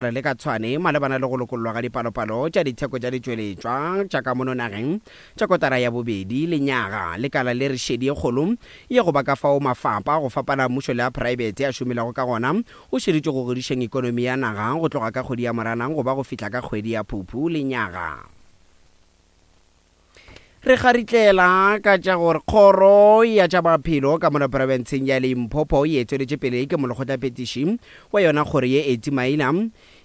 Le ka Tshwane malebana le go lokollwa ga dipalopalo tša ditheko tša ditšweletšwa tša ka mono nageng tša kotara ya bobedi lenyaga. Lekala le re šedi ye kgolo ye go ba ka fao mafapa a go fapana a mmušo le a praebete a šomilego ka gona go šeditšwe go godišeng ekonomi ya naga go tloga ka kgwedi ya Moranang go ba go fihla ka kgwedi ya Phuphu lenyaga. Re kgaritlela ka tša gore kgoro ya tša maphelo ka mono profenseng ya Limpopo e etšweletše pele ke molekgotlaphethiši wa yona kgoro ye Etty Maina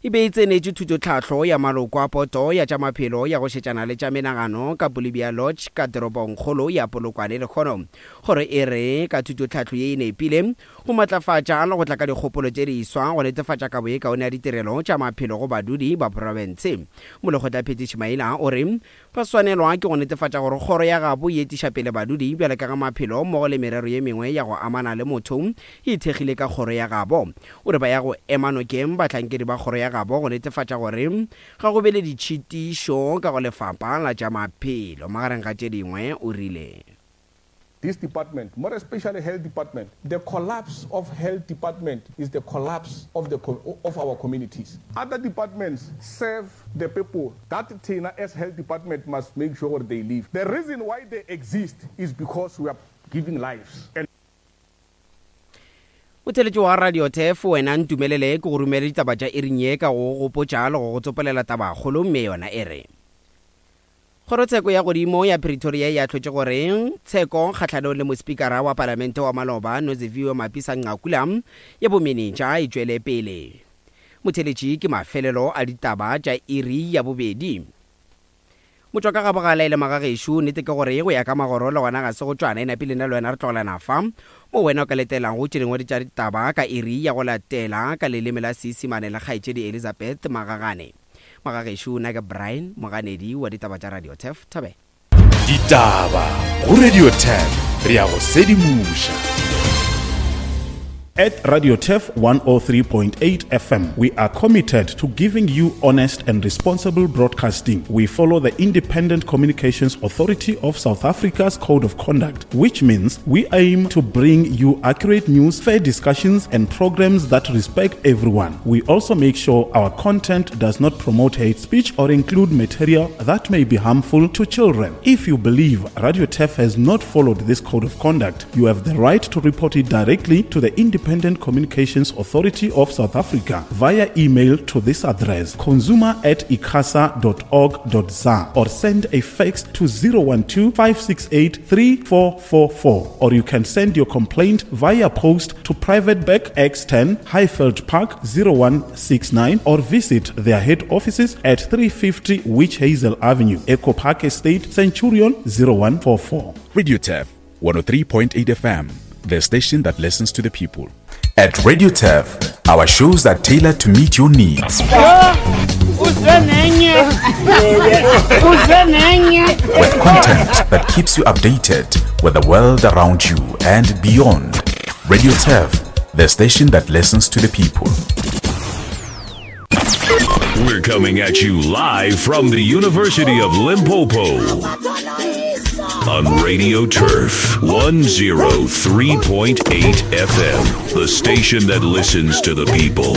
e be e tsenetše thutotlhahlo ya maloko a poto ya tša maphelo ya go šetšana le tša menagano ka Bolivia Lodge ka toropongkgolo ya Polokwane lehono. Kgoro e re ka thutotlhahlo ye e nepile go matlafatša le go tla ka dikgopolo tše diswa go netefatša kabo ye kaone ya ditirelo tša maphelo go badudi ba profense. Molekgotlaphethiši Maina o re Ba swanelwa ke go netefatša gore kgoro ya gabo e etiša pele badudi bjalo ka ge maphelo mmogo le merero ye mengwe ya go amana le motho e ithekgile ka kgoro ya gabo. O re ba ya go ema nokeng bahlankedi ba kgoro ya gabo go netefatša gore ga go be le ditšhitišo ka go lefapha la tša maphelo. Magareng ga tše dingwe o rile. This department, more especially health department, the collapse of health department is the collapse of the of our communities. Other departments serve the people that thina as health department must make sure gore they live. The reason why they exist is because we are giving lives and. Motheeletši wa Radio Turf, wena ntumelele ke go romele ditaba tša iring ye ka go go gopotša le go go tsopolela tabakgolo mme yona e re. Kgorotsheko ya Godimo ya Pretoria e ahlotše gore tsheko kgahlanong le mospikara wa palamente wa maloba Noziviwe Mapisa-Nqakula ya bomenetša e tšwele pele. Motheeletši ke mafelelo a ditaba tša iri ya bobedi. Motšwakagabogala e le magagešo, nnete ke gore go ya ka magoro le gona ga se go tšwana, e napile nna le wena re tlogelana fa mo wena o ka letelago tše dingwe tša ditaba ka iri ya go latela ka leleme la Seisimane le kgaetšedi Elizabeth Magagane. Magagešo, nna ke Brian, moganedi wa ditaba tša Radio Turf. Thobela. Ditaba go Radio Turf, re a go sedimoša. At Radio Turf 103.8 FM, we are committed to giving you honest and responsible broadcasting. We follow the Independent Communications Authority of South Africa's Code of Conduct, which means we aim to bring you accurate news, fair discussions, and programs that respect everyone. We also make sure our content does not promote hate speech or include material that may be harmful to children. If you believe Radio Turf has not followed this code of conduct, you have the right to report it directly to the Independent Communications Authority of South Africa via email to this address consumer at icasa.org.za or send a fax to 012 568 3444 or you can send your complaint via post to Private Bank X10 Highveld Park 0169 or visit their head offices at 350 Witch Hazel Avenue, Echo Park Estate, Centurion 0144. Radio Turf 103.8 FM, the station that listens to the people. At Radio Turf, our shows are tailored to meet your needs. With content that keeps you updated with the world around you and beyond. Radio Turf, the station that listens to the people. We're coming at you live from the University of Limpopo on Radio Turf 103.8 FM, the station that listens to the people.